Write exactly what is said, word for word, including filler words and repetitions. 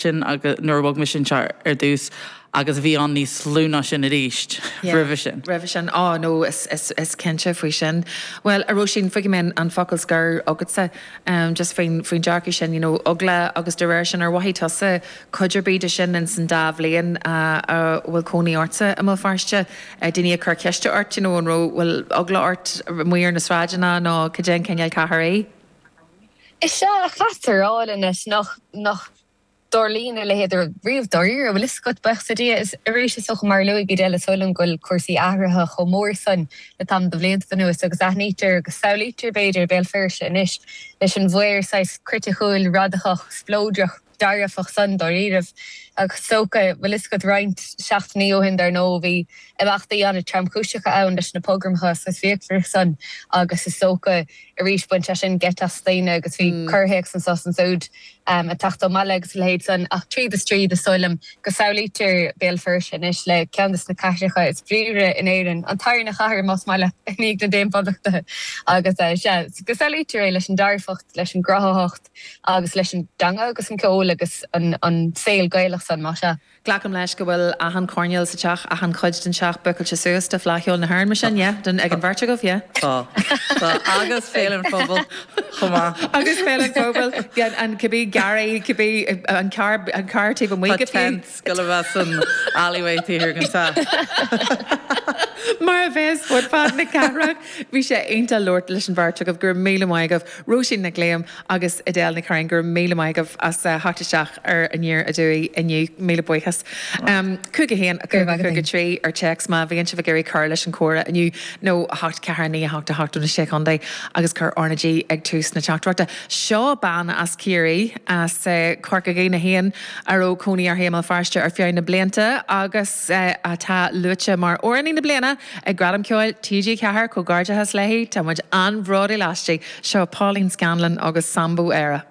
sin agus nuair a bhog mise anseo ar dtús agus bhí an níos lú ná sin arís roimhe sin. Roimhe sin á nó is, is, is cinnte faoi sin. Well a Róisín fágfaidh mé an focal scoir agatsa um, just faoin faoin dearcadh sin you know, eagla agus de réir sin ar mhothaigh tusa cuid ar bith de sin in san dá bhliain uh, a bhfuil cónaí ortsa i mBéal Feirste uh, daoine ag cur ceiste ort you know, an raibh bhfuil eagla ort amuigh ar na sráideanna nó cad é an cineál cathair é? Is ea caithfear a rá anois nach nach dtarlaíonn a leithéid riamh dáiríre bhfuil a fhios agat buíochas le Dia is arís is dócha mar a luaigh Edel is dóigh liom go bhfuil cúrsaí athraithe chomh mór san le tamall de bhlianta anuas agus aithnítear agus samhlaítear b'fhéidir Béal Feirste anois leis an bhfear saghas criticiúil radacach spleodrach dearfach san dáiríribh agus is dócha bhfuil a fhios agat roinnt seachtainí ó shin dar ndóigh bhí imeachtaí an-tromchúiseacha ann leis na pogramacha saghas fíochmhar san agus is dócha arís bhain sé sin geit as daoine agus bhí corrthéacs anso is ansiúd ag teacht ó mbaile agus a leithéid san ach tríd is tríd is dóigh liom go samhlaítear Béal Feirste anois le ceann de na cathracha is bríomhaire in Éirinn, an tarna chathair más maith leat i ndiaidh na Daonphoblachta agus sea go samhlaítear é leis an dearfacht, leis an gcruthaitheacht agus leis an dteanga agus an ceol agus an saol Gaelach san más ea. Glacaim leis go bhfuil achan choirnéal sa teach, achan chuid den teach bookáilte suas do Fleadh Cheoil na hÉireann mar sin, yeah? Don ag an bheirt agaibh, yeah? Tá. Tá. Agus Féile an Phobail chomh maith. Agus Féile an Phobail, yeah, an cibé garraí, cibé an carr, an carr taobh amuigh go fiú. Tá tent ag gabháil a bheith san alleyway taobh thiar den teach. Mar a bheas fud fad na cathrach. Bhí sé iontach labhairt leis an bheirt agaibh, go raibh míle maith agaibh. Róisín Nic Liam agus Edel Nic Curráin, go raibh míle maith agaibh as theacht isteach ar Aniar Aduaidh inniu. Míle buíochas. Cúig a haon, a cúig, a cúig a trí ar téacs má bhíonn sibh ag iarraidh cur leis an chomhrá inniu nó a hocht ceathair a naoi a hocht a hocht ó na Sé Chontae agus cuir R na G ag tús na teachtaireachta. Seo bean as Ciarraí, as Corca Dhuibhne féin, a raibh cónaí uirthi i mBéal Feirste ar feadh na blianta agus atá luaite mar Amhránaí na Bliana ag Gradam Ceoil T G ceathair. Comhghairdeachas léi, tá muid an-bhródúil aisti. Seo Pauline Scanlon agus Sambo Éire.